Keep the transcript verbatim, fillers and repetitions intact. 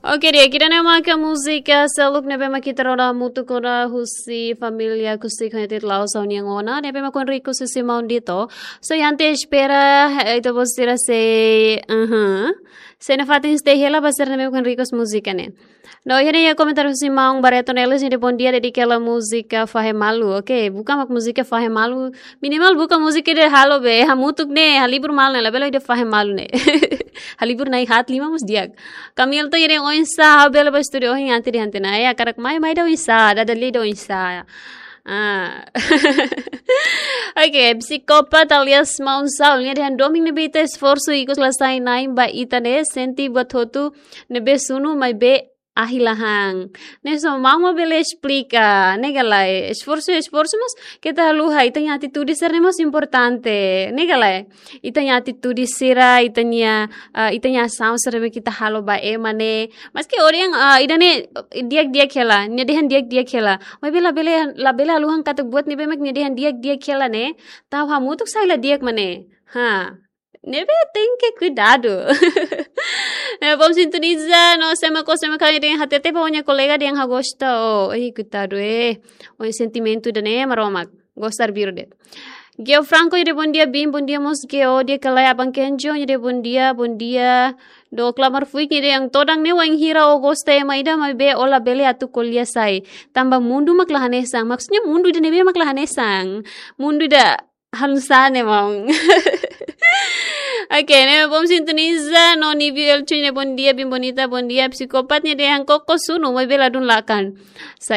Oke, di'ak, ida-ne'e maka múzika seluk ne'ebé mak ita rona hamutuk ona husi família Acústico United Laos, União Ona, ne'ebé mak kuan riko husi maun Dito. So, iha ante espera, eh, ita-boot sira sei, aham. Sei nafatin stay hela ba sira ne'ebé mak kuan riko múzika ne'e. No, iha ne'e iha komentáriu husi maun Barreto Neles, nia dehan bom dia, dedika hela múzika Fahe Malu. Oke, buka mak múzika Fahe Malu. Minimal buka múzika ida halo be, hamutuk ne'e, halibur malu ne'e, labele ida fahe malu ne'e. Halibur na'in-haat, lima mós di'ak. Camilton nia dehan oinsá, ha'u bele bá estúdiu ohin, ante dehan tiha ona. Ya, hakarak mai, mai ida oinsá, dada lia ida oinsá. Ah. Oke, psikópat alias maun Saul, nia dehan domin ne'ebé ita esforsu ikus la sai na'in ba ita ne'e, sente buat hotu ne'ebé sunu maibé ahi la han. Ne'e só maun mak bele esplika, ne'e ka lae? Esforsu, esforsu, mas keta haluha, ita-nia atitude sira-ne'e mós importante, ne'e ka lae? Ita-nia atitude sira, ita-nia, ah, ita-nia asaun sira ne'ebé ita halo ba ema ne'e. Maski ohin, ah, ida-ne'e di'ak-di'ak hela, nia dehan di'ak-di'ak hela. Maibé labele, labele haluhan katak buat ne'ebé mak nia dehan di'ak-di'ak hela ne'e, tau hamutuk sai la di'ak mak ne'e. Ha. Ne'ebé tenke kuidadu. Ne'e bom sintoniza, no sé mak ó, sé mak ó, nia dehan hatete ba ó-nia kolega dehan ha'u gosta ó. Ei, kuidadu, eh. Ó-nia sentimentu ida-ne'e, Maromak. Gosta arbiru de'it. Geo Franco, nia dehan bom dia, Bin, bom dia mós Geo, di'ak ka lae, Aban Kenjo, nia dehan bom dia, bom dia. Dook Lamar Fuik, nia dehan todan ne'e wainhira ó gosta ema ida maibé ó labele atu ko'alia sai. Tanba mundu mak la hanesan. Maksudnya mundu ida ne'ebé mak la hanesan. Mundu ida hanesan ne'e, maun. Oke, ne'e bom sintoniza, no Nibi Elchu, nia dehan bom dia, Bin Bonita, bom dia, psikópat, nia dehan koko sunu, maibé ladún lakan. Sa